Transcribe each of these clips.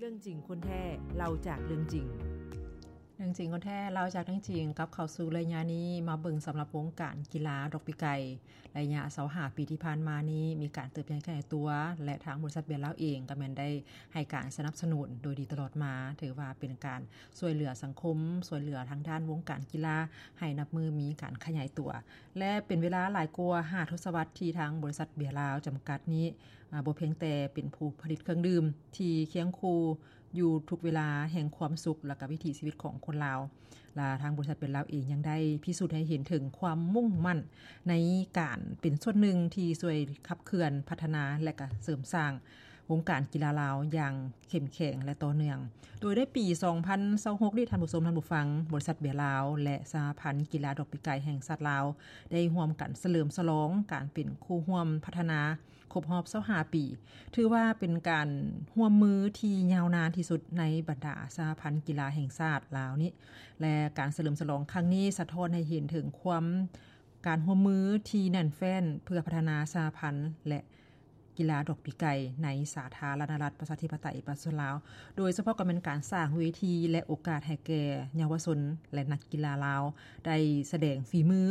ເລື່ອງຈິງຄົນແທ້ ເລົ່າຈາກເລື່ອງຈິງ. ເລື່ອງຈິງຄົນແທ້ ເລົ່າຈາກເລື່ອງຈິງ ກັບເຂົ້າສູ່ໄລຍະນີ້ ມາເບິ່ງສຳລັບວົງການກິລາດອກປີກໄກ່ ໄລຍະຊາວຫ້າປີທີ່ຜ່ານມານີ້ ມີການເຕີບໃຫຍ່ຂະຫຍາຍຕົວ ແລະ ທາງບໍລິສັດເບຍລາວເອງກໍແມ່ນໄດ້ໃຫ້ການສະໜັບສະໜູນໂດຍດີຕະຫຼອດມາ, ຖືວ່າເປັນການຊ່ວຍເຫຼືອສັງຄົມ, ຊ່ວຍເຫຼືອທາງດ້ານວົງການກິລາ ໃຫ້ນັບມື້ມີການຂະຫຍາຍຕົວ ແລະ ເປັນເວລາຫຼາຍກວ່າຫ້າທົດສະວັດທີ່ທາງບໍລິສັດເບຍລາວຈຳກັດນີ້ ອາ ບໍ່ພຽງແຕ່ເປັນຜູ້ຜະລິດເຄື່ອງດື່ມທີ່ຄຽງຄູ່ຢູ່ທຸກເວລາແຫ່ງຄວາມສຸກ ແລະ ກະວິຖີຊີວິດຂອງຄົນລາວ, ລະທາງບໍລິສັດເບຍລາວເອງຍັງໄດ້ພິສູດໃຫ້ເຫັນເຖິງຄວາມມຸ່ງໝັ້ນໃນການເປັນສ່ວນໜຶ່ງທີ່ຊ່ວຍຂັບເຄື່ອນ, ພັດທະນາ ແລະ ກະເສີມສ້າງວົງການກິລາລາວຢ່າງເຂັ້ມແຂງ ແລະ ຕໍ່ເນື່ອງ. ໂດຍໃນປີສອງພັນຊາວຫົກນີ້ ທ່ານຜູ້ຊົມ, ທ່ານຜູ້ຟັງ, ບໍລິສັດເບຍລາວ ແລະ ສະຫະພັນກິລາດອກປີກໄກ່ແຫ່ງຊາດລາວ ໄດ້ຮ່ວມກັນສະເຫຼີມສະຫຼອງການເປັນຄູ່ຮ່ວມພັດທະນາ ຄົບຮອບຊາວຫ້າປີ, ຖືວ່າເປັນການຮ່ວມມືທີ່ຍາວນານທີ່ສຸດໃນບັນດາສະຫະພັນກິລາແຫ່ງຊາດລາວນີ້ ແລະ ການສະເຫຼີມສະຫຼອງຄັ້ງນີ້ສະທ້ອນໃຫ້ເຫັນເຖິງຄວາມ ການຮ່ວມມືທີ່ແໜ້ນແຟ້ນເພື່ອພັດທະນາສະຫະພັນ ແລະ ກິລາດອກປີກໄກ່ໃນສາທາລະນະລັດ ປະຊາທິປະໄຕ ປະຊາຊົນລາວ, ໂດຍສະເພາະກໍແມ່ນການສ້າງເວທີ ແລະ ໂອກາດໃຫ້ແກ່ເຍົາວະຊົນ ແລະ ນັກກິລາລາວໄດ້ສະແດງຝີມື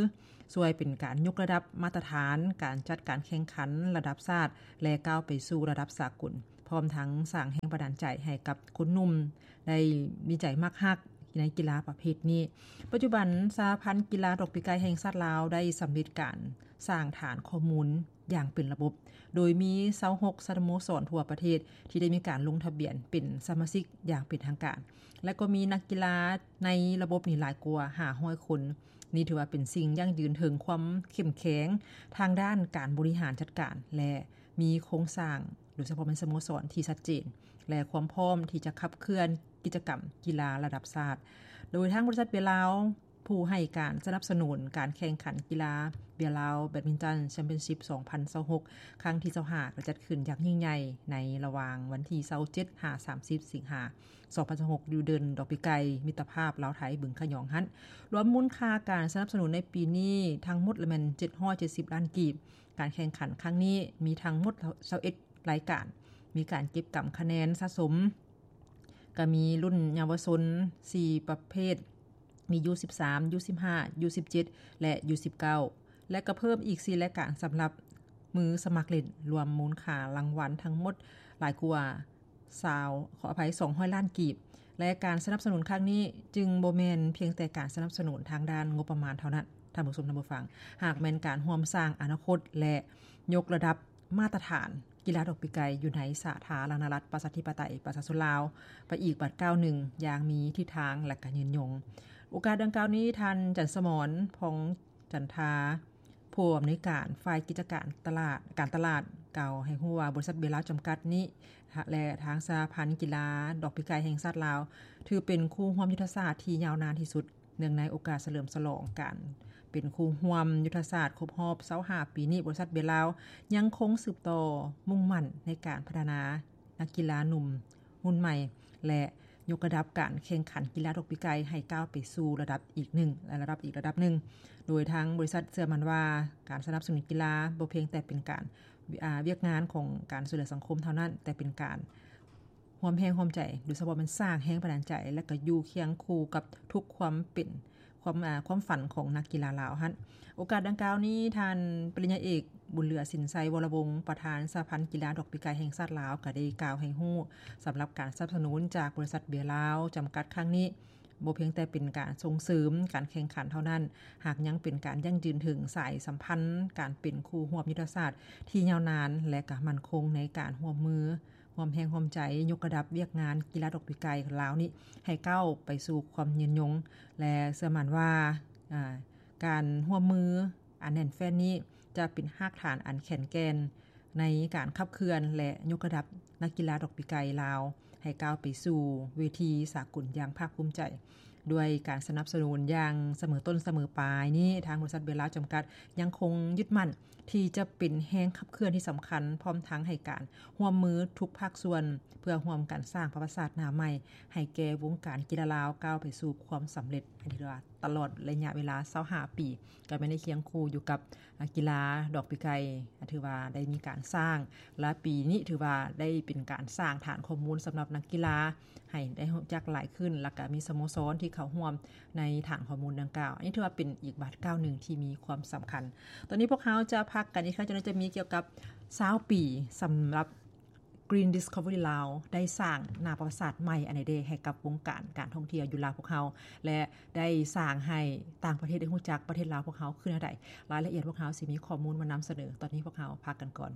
ຊ່ວຍເປັນການຍົກລະດັບມາດຕະຖານການຈັດການແຂ່ງຂັນລະດັບຊາດ ແລະ ກ້າວໄປສູ່ລະດັບສາກົນ, ພ້ອມທັງສ້າງແຮງບັນດານໃຈໃຫ້ກັບຄົນໜຸ່ມໄດ້ມີໃຈມັກຮັກໃນກິລາປະເພດນີ້. ປັດຈຸບັນ ສະຫະພັນກິລາດອກປີກໄກ່ແຫ່ງຊາດລາວໄດ້ສຳເລັດການສ້າງຖານຂໍ້ມູນຢ່າງເປັນລະບົບ, ໂດຍມີຊາວຫົກສະໂມສອນທົ່ວປະເທດທີ່ໄດ້ມີການລົງທະບຽນເປັນສະມາຊິກຢ່າງເປັນທາງການ ແລະ ກໍມີນັກກິລາໃນລະບົບນີ້ຫຼາຍກວ່າຫ້າຮ້ອຍຄົນ. ນີ້ຖືວ່າເປັນສິ່ງຢັ້ງຢືນເຖິງຄວາມເຂັ້ມແຂງທາງດ້ານການບໍລິຫານຈັດການ ແລະ ມີໂຄງສ້າງ ໂດຍສະເພາະແມ່ນສະໂມສອນທີ່ຊັດເຈນ ແລະ ຄວາມພ້ອມທີ່ຈະຂັບເຄື່ອນກິດຈະກຳກິລາລະດັບຊາດ. ໂດຍທາງບໍລິສັດເບຍລາວ ຜູ້ໃຫ້ການສະໜັບສະໜູນການແຂ່ງຂັນກິລາ ເບຍລາວ ແບດມິນຕັນ ແຊມປຽນຊິບ ສອງພັນຊາວຫົກ ຄັ້ງທີຊາວຫ້າ ກໍຈັດຂຶ້ນຢ່າງຍິ່ງໃຫຍ່ໃນລະຫວ່າງວັນທີຊາວເຈັດ ຫາ ສາມສິບ ສິງຫາ ສອງພັນຊາວຫົກ ຢູ່ເດີ່ນດອກປີກໄກ່ມິດຕະພາບລາວໄທ ບຶງຂະຫຍອງຫັ້ນ, ລວມມູນຄ່າການສະໜັບສະໜູນໃນປີນີ້ທັງໝົດລະແມ່ນເຈັດຮ້ອຍເຈັດສິບລ້ານກີບ. ການແຂ່ງຂັນຄັ້ງນີ້ມີທັງໝົດຊາວເອັດລາຍການ, ມີການເກັບກຳຄະແນນສະສົມ ກະມີລຸ້ນເຍົາວະຊົນສີ່ປະເພດ ມີ ຢູ ສິບສາມ ຢູ ສິບຫ້າ ຢູ ສິບເຈັດ ແລະ ຢູ ສິບເກົ້າ ແລະ ກະເພີ່ມອີກສີ່ລາຍການສຳລັບມືສະໝັກຫຼິ້ນ, ລວມມູນຄ່າລາງວັນທັງໝົດຫຼາຍກວ່າ ຊາວ ຂໍອະໄພ ສອງຮ້ອຍລ້ານກີບ ແລະ ການສະໜັບສະໜູນຄັ້ງນີ້ຈຶ່ງບໍ່ແມ່ນພຽງແຕ່ການສະໜັບສະໜູນທາງດ້ານງົບປະມານເທົ່ານັ້ນ, ທ່ານຜູ້ຊົມ ທ່ານຜູ້ຟັງ, ຫາກແມ່ນການຮ່ວມສ້າງອະນາຄົດ ແລະ ຍົກລະດັບມາດຕະຖານກິລາດອກປີກໄກ່ຢູ່ໃນສາທາລະນະລັດ ປະຊາທິປະໄຕ ປະຊາຊົນລາວ ໄປອີກບາດກ້າວໜຶ່ງຢ່າງມີທິດທາງ ແລະ ກະຍືນຍົງ. ໂອກາດດັ່ງກ່າວນີ້ ທ່ານ ຈັນສະໝອນ ພອງຈັນທາ ຜູ້ອຳນວຍການຝ່າຍກິດຈະການຕະຫຼາດ ການຕະຫຼາດ ກ່າວໃຫ້ຮູ້ວ່າ ບໍລິສັດເບຍລາວຈຳກັດນີ້ ແລະ ທາງສະຫະພັນກິລາດອກປີກໄກ່ແຫ່ງຊາດລາວ ຖືເປັນຄູ່ຮ່ວມຍຸດທະສາດທີ່ຍາວນານທີ່ສຸດ. ເນື່ອງໃນໂອກາດສະເຫຼີມສະຫຼອງການເປັນຄູ່ຮ່ວມຍຸດທະສາດຄົບຮອບຊາວຫ້າປີນີ້, ບໍລິສັດເບຍລາວຍັງຄົງສືບຕໍ່ມຸ່ງໝັ້ນໃນການພັດທະນານັກກິລາໜຸ່ມຮຸ່ນໃໝ່ ແລະ ຍົກລະດັບການແຂ່ງຂັນກິລາດອກປີກໄກ່ໃຫ້ກ້າວໄປສູ່ລະດັບອີກໜຶ່ງ ລະດັບອີກລະດັບໜຶ່ງ, ໂດຍທາງບໍລິສັດເຊື່ອໝັ້ນວ່າ ການສະໜັບສະໜູນກິລາບໍ່ພຽງແຕ່ເປັນການ ອາ ວຽກງານຂອງການຊ່ວຍເຫຼືອສັງຄົມເທົ່ານັ້ນ, ແຕ່ເປັນການຮ່ວມແຮງຮ່ວມໃຈ, ໂດຍສະເພາະແມ່ນສ້າງແຮງບັນດານໃຈ ແລະ ກໍຢູ່ຄຽງຄູ່ກັບທຸກຄວາມເປັນ ຄວາມ ອາ ຄວາມຝັນຂອງນັກກິລາລາວຫັ້ນ. ໂອກາດດັ່ງກ່າວນີ້ ທ່ານປະລິນຍາເອກ ບຸນເຫຼືອ ສິນໄຊ ວໍລະວົງ ປະທານສະຫະພັນກິລາດອກປີກໄກ່ແຫ່ງຊາດລາວ ກໍໄດ້ກ່າວໃຫ້ຮູ້ ສຳລັບການສະໜັບສະໜູນຈາກບໍລິສັດເບຍລາວຈຳກັດຄັ້ງນີ້ ບໍ່ພຽງແຕ່ເປັນການສົ່ງເສີມການແຂ່ງຂັນເທົ່ານັ້ນ, ຫາກຍັງເປັນການຢັ້ງຢືນເຖິງສາຍສຳພັນການເປັນຄູ່ຮ່ວມຍຸດທະສາດທີ່ຍາວນານ ແລະ ກໍໝັ້ນຄົງໃນການຮ່ວມມື ຮ່ວມແຮງຮ່ວມໃຈຍົກລະດັບວຽກງານກິລາດອກປີກໄກ່ລາວນີ້ໃຫ້ກ້າວໄປສູ່ຄວາມຍືນຍົງ ແລະ ເຊື່ອໝັ້ນວ່າ ອາ ການຮ່ວມມືອັນແໜ້ນແຟ້ນນີ້ຈະເປັນຮາກຖານອັນແຂງແກ່ນໃນການຂັບເຄື່ອນ ແລະ ຍົກລະດັບນັກກິລາດອກປີກໄກ່ລາວໃຫ້ກ້າວໄປສູ່ເວທີສາກົນຢ່າງພາກພູມໃຈ. ດ້ວຍການສະໜັບສະໜູນຢ່າງສະເໝີຕົ້ນສະເໝີປາຍນີ້, ທາງບໍລິສັດເບຍລາວຈຳກັດຍັງຄົງຍຶດໝັ້ນທີ່ຈະເປັນແຮງຂັບເຄື່ອນທີ່ສຳຄັນ, ພ້ອມທັງໃຫ້ການຮ່ວມມືທຸກພາກສ່ວນ ເພື່ອຮ່ວມກັນສ້າງປະຫວັດສາດໜ້າໃໝ່ໃຫ້ແກ່ວົງການກິລາລາວ ກ້າວໄປສູ່ຄວາມສຳເລັດ ອັນທີ່ເອີ້ນວ່າ ຕະຫຼອດໄລຍະເວລາຊາວຫ້າປີ ກໍແມ່ນໄດ້ຄຽງຄູ່ຢູ່ກັບ ອາ ກິລາດອກປີກໄກ່ ອາ ຖືວ່າໄດ້ມີການສ້າງ ແລະ ປີນີ້ຖືວ່າໄດ້ເປັນການສ້າງຖານຂໍ້ມູນສຳລັບນັກກິລາ ໃຫ້ໄດ້ຮູ້ຈັກຫຼາຍຂຶ້ນ ແລ້ວກໍມີສະໂມສອນທີ່ເຂົ້າຮ່ວມໃນຖານຂໍ້ມູນດັ່ງກ່າວ. ອັນນີ້ຖືວ່າເປັນອີກບາດກ້າວໜຶ່ງທີ່ມີຄວາມສຳຄັນ. ຕອນນີ້ພວກເຮົາຈະພັກກັນອີກຄັ້ງ ຈະໄດ້ຈະມີກ່ຽວກັບຊາວປີສຳລັບ Green Discovery ລາວ ໄດ້ສ້າງໜ້າປະຫວັດສາດໃໝ່ອັນໃດເດ ໃຫ້ກັບວົງການການທ່ອງທ່ຽວຢູ່ລາວພວກເຮົາ ແລະ ໄດ້ສ້າງໃຫ້ຕ່າງປະເທດໄດ້ຮູ້ຈັກປະເທດລາວພວກເຮົາຄືແນວໃດ. ລາຍລະອຽດພວກເຮົາຊິມີຂໍ້ມູນມານຳສະເໜີ. ຕອນນີ້ພວກເຮົາພັກກັນກ່ອນ.